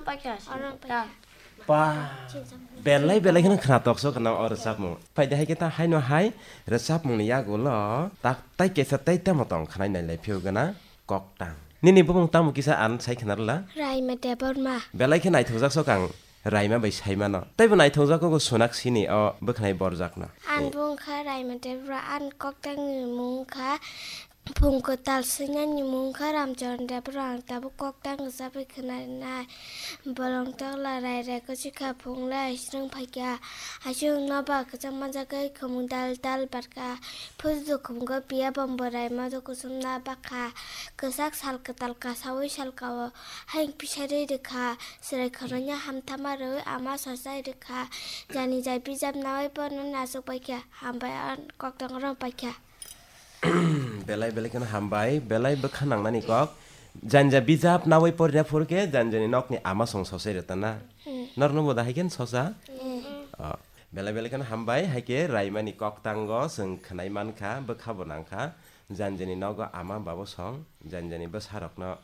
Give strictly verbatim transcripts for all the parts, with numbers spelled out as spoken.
Paikha. Ba, belai belai kheno khwnatok so khwna o rwchapmung. Phai de hai khe ta haino hai rwchapmungni yagulo tak tai kesa tai tamo tong khwnai nai lai phiyok gana koktang. Nini bumung tamo kisa ang sai khwna rwla? Raima Debbarma. Belai khe naithokjak sok ang Raima bai sai mano. Teibo naithokjak kok Sonaksini o bwkhanai borjakno. Ang bung kha Raima Debbarma, ang koktangni mung kha Phung kwtal swinani mung kha Ramcharan Debbarma, ang tabuk koktang rwchapwi khwna rinai. Bolong tokla rai rai kwchwi kha, phung lai swrwng phai kha. Aswk no ba kwchang manjak khe khumung dal dal bar kha. Phuju khumung khe piya bombo rai ma do kusum na ba kha. Kwchak sal kwtal kasaui sal kao. Hayung pisari rwkha. Chwrai khoroknwi hamthama rwui ama sosai rwkha. Jani jai bijap naui porno nasuk pai kha. Hambai ang koktang rwng pai kha. Belai belai kheno hambai, belai bwkha nangnani kok. Janja bijap naui porina phuru khe janjani nokni ama song sosai rwtana. Hmm. Norno bo da hai khe sosa? Hmm. Oh. Belai belai kheno hambai, hai khe Raimani koktango chwng khwnai mankha, bwkha bo nangkha. Janjani nogo ama babo song, janjani bwsarokno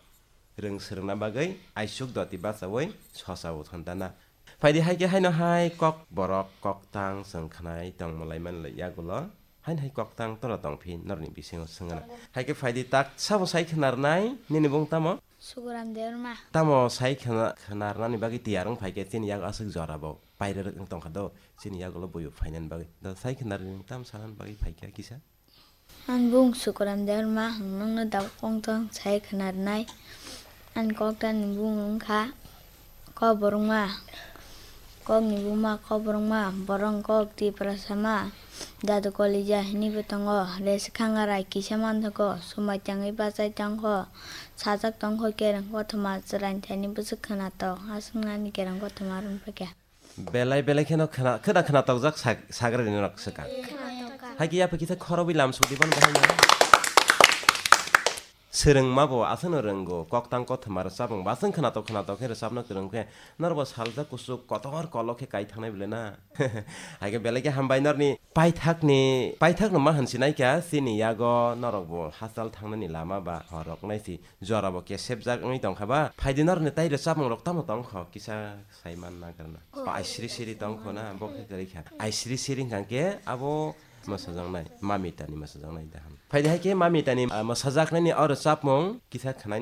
rwng swrwngna bagwi aisuk doti bachaui sosa bo thantana. Phaidi hai khe haino hai kok borok koktang chwng khwnai tongmwlai manlai yagulo. Haino hai koktang toro tongphi norni bisingo swngna. Hai khe phaidi tak sabo sai khwnarnai nini bung tamo? Sukuram Debbarma. Tamo sai khwna-, khwnarnani bagwi tiyar wng phai khe chini yago aswk jora bo pairwrwk wng tongkha do chini yagulo buibo phainani bagwi. Da sai khwnarnani tam sanani bagwi phai kha kisa? Ang bung Sukuram Debbarma, ang nokno da koktang sai khwnarnai. Ang koktangni bung wngkha Koborokma, kokni buma Koborokma, borok kok Tiprasama, Dadu Kolija hinwi bo tongo, Resi Khangarai kisa manthogo, Sumai tangwi bachai tongkho, sajak tongkho Kereng Kothoma, Chwraini thaini bwswk khwnatok, aswk nani Kereng Kothoma rwng phai kha. Belai belai kheno khwna, khwna khwnatok jak sak-, sagra rwni rok swkang. Khwnatok kha. Hai khe yapha kisa khorobwi lam sudi ban bahai no. Swrwngma bo aswkno rwngo, koktang kothoma rwchapmung bo aswk khwnatok khwnatok khe rwchapna kwrwng khe, norbo saljak kuchuk kotor kolok khe kai thangnai bwle na. Hai khe belai khe hambai norni paithakni, paithakno ma hinsinai kha, chini yago norok bo hachal thangnani lama ba horok nai si jora bo kesepjak wngwi tongkha ba, phaidi norni tai rwchapmung rok tamo tongkho kisa sai man na karna. Ba ai siri siri tongkho na, bo khe kwrwi kha. Ai siri siri hwnkha khe abo Mwsajaknai, Mamitani mwsajaknai daham. Phaidi hai khe Mamitani, ah, mwsajaknaini o rwchapmung kisa khwnai